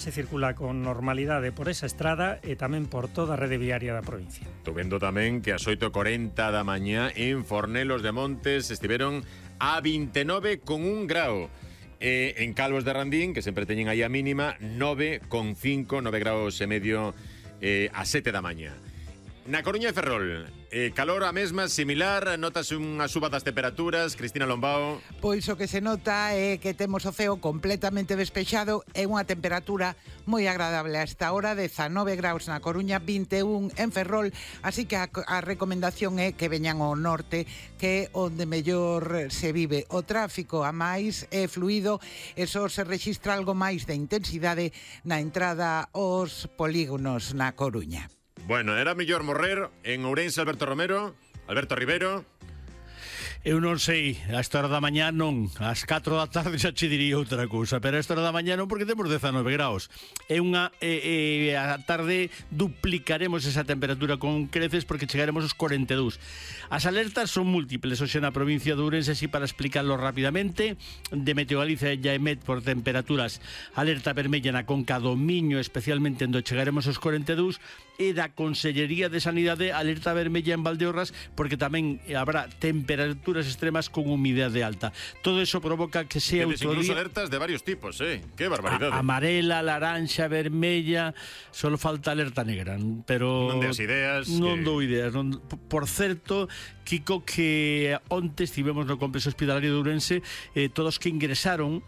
Se circula con normalidade por esa estrada e tamén por toda a rede viaria da provincia. Estou vendo tamén que ás 8:40 da mañá en Fornelos de Montes estiveron a 29,1 grao. En Calvos de Randín, que sempre teñen aí a mínima, 9,5, 9 graus e medio a 7 da mañá. Na Coruña e Ferrol, calor a mesma, similar, notase unha suba das temperaturas. Cristina Lombao. Pois o que se nota é que temos o ceo completamente despexado e unha temperatura moi agradable a esta hora, 19 graus na Coruña, 21 en Ferrol, así que a recomendación é que veñan ao norte, que é onde mellor se vive. O tráfico a máis é fluido e só se rexistra algo máis de intensidade na entrada aos polígonos na Coruña. Bueno, era mellor morrer en Ourense Alberto Rivero. Eu non sei, a esta hora da mañá non, ás 4 da tarde xa che diría outra cousa, pero a esta hora da mañá non, porque temos 19 graus. A tarde duplicaremos esa temperatura con creces porque chegaremos aos 42. As alertas son múltiples hoxe na provincia de Ourense, así para explicarlo rapidamente. De Meteo Galicia e Emet por temperaturas, alerta vermella na Conca do Miño, especialmente onde chegaremos aos 42, e da Consellería de Sanidade alerta vermella en Valdeorras, porque tamén habrá temperaturas extremas con humidade alta. Todo eso provoca que sea incluso alertas de varios tipos, qué barbaridade. Amarela, laranxa, vermella, solo falta alerta negra, pero non deas ideas. Non dou ideas. Por certo, Kiko, que onte estivemos no complexo hospitalario de Ourense, todos que ingresaron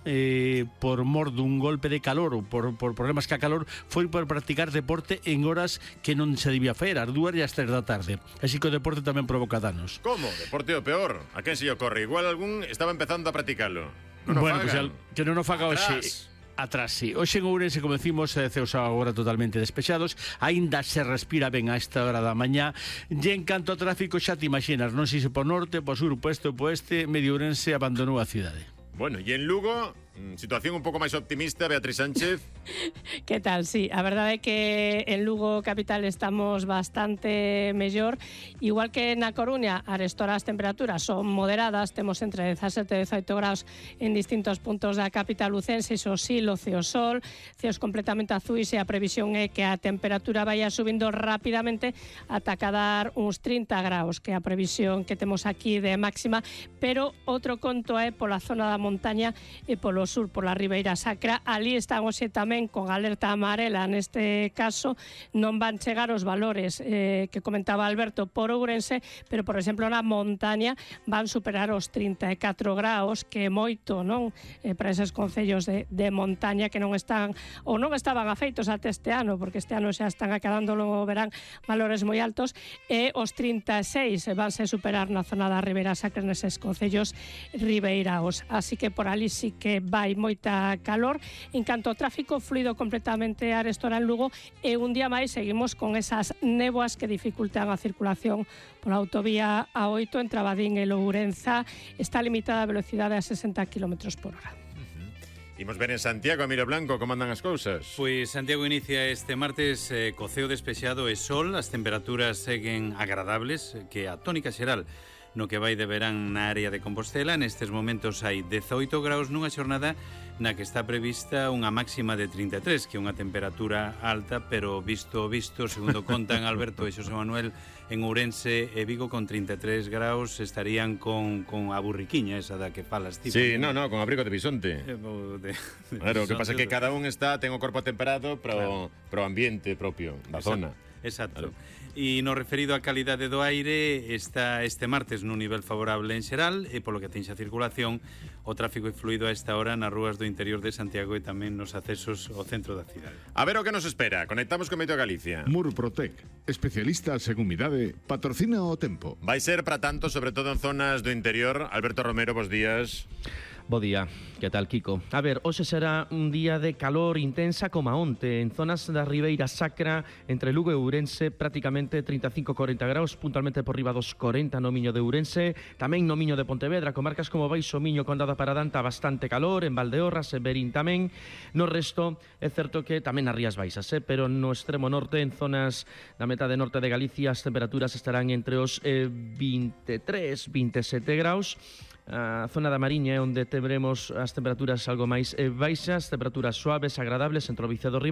por mor dun golpe de calor ou por problemas que a calor foi por practicar deporte en horas que non se debía fer, ás 2 e ás 3 da tarde. Así que o deporte tamén provoca danos. Como? Deporte o peor? A quen se lle ocorre? Igual algún estaba empezando a practicalo. Bueno, pues que non o faga hoxe. Atrás, sí. Hoxe en Ourense, como decimos, ceos agora totalmente despexados. Aínda se respira ben a esta hora da mañá. E en canto ao tráfico, xa te imaginas, non sei se por norte, por sur, por este ou por oeste, medio Ourense abandonou a cidade. Bueno, e en Lugo, situación un pouco máis optimista, Beatriz Sánchez. Que tal? Sí, a verdade é que en Lugo capital estamos bastante mellor. Igual que na Coruña, arestora as temperaturas son moderadas, temos entre 17 e 18 graus en distintos puntos da capital lucense, iso sí, o sol, ceos completamente azuis, e a previsión é que a temperatura vaya subindo rapidamente ata cadar uns 30 graus, que é a previsión que temos aquí de máxima, pero outro conto é pola zona da montaña e polo sur, pola Ribeira Sacra. Ali están hoxe tamén con alerta amarela, neste caso non van chegar os valores que comentaba Alberto por Ourense, pero por exemplo na montaña van superar os 34 graus, que é moito, non? Para eses concellos de montaña que non están ou non estaban afeitos até este ano, porque este ano xa están acabando, logo verán valores moi altos, e os 36 vanse superar na zona da Ribeira Sacra neses concellos ribeiraos. Así que por ali sí que vai moita calor. En canto ao tráfico, fluido completamente arestora en Lugo, e un día máis seguimos con esas néboas que dificultan a circulación pola autovía A8 entre Abadín e Lourenza. Está limitada a velocidade a 60 km por hora. Imos ver en Santiago, Emilio Blanco, como andan as cousas? Pois Santiago inicia este martes co ceo despexado e sol, as temperaturas seguen agradables, que a tónica xeral no que vai de verán na área de Compostela. Nestes momentos hai 18 graus nunha xornada na que está prevista unha máxima de 33, que é unha temperatura alta, pero visto, segundo contan Alberto e Xosé Manuel, en Ourense e Vigo con 33 graus estarían con a burriquiña esa da que falas tipo. Sí, no, con abrigo de bisonte. Claro, o que pasa é que cada un ten o corpo temperado pro ambiente propio da zona. Exacto. E no referido á calidade do aire, está este martes nun nivel favorable en xeral, e polo que atinxe a circulación, o tráfico é fluido a esta hora nas rúas do interior de Santiago e tamén nos accesos ao centro da cidade. A ver o que nos espera. Conectamos con Meteo Galicia. Murprotec, especialistas en humidade, patrocina o tempo. Vai ser para tanto, sobre todo en zonas do interior. Alberto Romero, bos días. Bo día, que tal, Kiko? A ver, hoxe será un día de calor intensa como onte. En zonas da Ribeira Sacra, entre Lugo e Ourense, prácticamente 35-40 graus, puntualmente por riba dos 40 no Miño de Ourense, tamén no Miño de Pontevedra, comarcas como Baixo Miño, Condado Paradanta, bastante calor, en Valdeorras, en Verín tamén. No resto, é certo que tamén nas Rías Baixas, pero no extremo norte, en zonas da metade norte de Galicia, as temperaturas estarán entre os 23-27 graus. A zona da Mariña é onde teremos as temperaturas algo máis baixas, temperaturas suaves, agradables entre o Vicedo